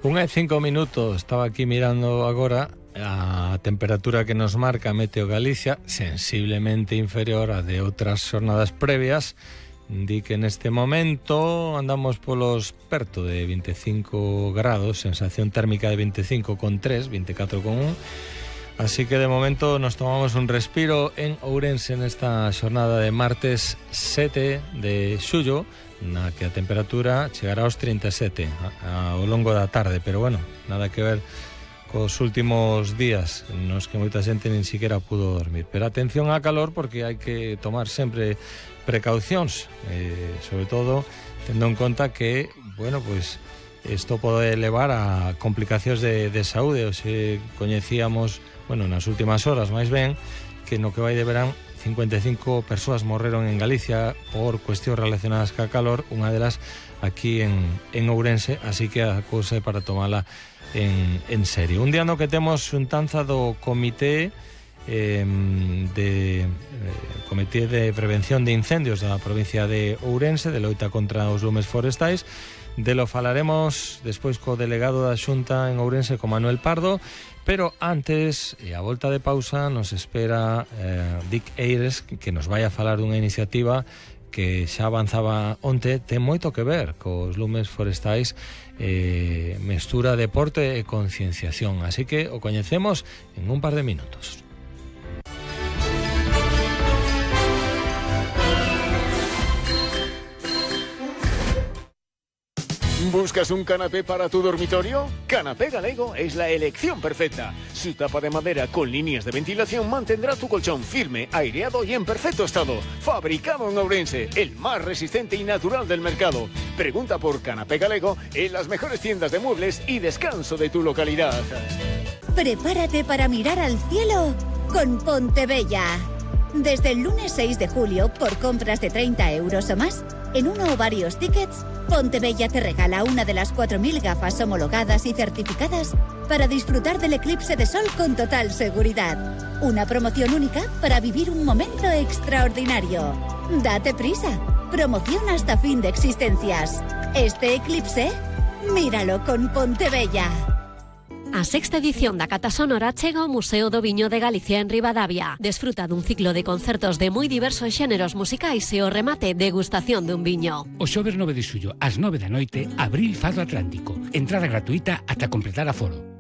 1:05, estaba aquí mirando agora a temperatura que nos marca Meteo Galicia, sensiblemente inferior a de outras xornadas previas. Di que neste momento andamos polos perto de 25 grados, sensación térmica de 25,3, 24,1. Así que de momento nos tomamos un respiro en Ourense nesta xornada de martes 7 de xullo, na que a temperatura chegará aos 37 ao longo da tarde, pero bueno, nada que ver cos últimos días nos que moita xente nin siquiera pudo dormir. Pero atención á calor, porque hai que tomar sempre precaucións, sobre todo tendo en conta que, bueno, pues isto pode levar a complicacións de saúde. Hoxe coñecíamos, bueno, nas últimas horas máis ben, que no que vai de verán 55 persoas morreron en Galicia por cuestións relacionadas ca calor, unha delas aquí en Ourense, así que a cousa é para tomala en serio. Un día no que temos xuntanza do Comité de Prevención de Incendios da provincia de Ourense, de loita contra os lumes forestais. Delo falaremos despois co delegado da Xunta en Ourense, con Manuel Pardo, pero antes, e a volta de pausa, nos espera Dick Eires, que nos vai a falar dunha iniciativa que xa avanzaba onte, ten moito que ver cos lumes forestais, mestura deporte e concienciación, así que o coñecemos en un par de minutos. ¿Buscas un canapé para tu dormitorio? Canapé Galego es la elección perfecta. Su tapa de madera con líneas de ventilación mantendrá tu colchón firme, aireado y en perfecto estado. Fabricado en Ourense, el más resistente y natural del mercado. Pregunta por Canapé Galego en las mejores tiendas de muebles y descanso de tu localidad. Prepárate para mirar al cielo con Pontebella. Desde el lunes 6 de julio, por compras de 30 euros o más, en uno o varios tickets, Pontebella te regala una de las 4.000 gafas homologadas y certificadas para disfrutar del eclipse de sol con total seguridad. Una promoción única para vivir un momento extraordinario. Date prisa. Promoción hasta fin de existencias. Este eclipse, míralo con Pontebella. A sexta edición da Cata Sonora chega ao Museo do Viño de Galicia en Ribadavia. Desfruta dun ciclo de concertos de moi diversos xéneros musicais e o remate degustación dun viño. O xoves 9 de xullo, ás 9 da noite, Abril Fado Atlántico. Entrada gratuita ata completar aforo.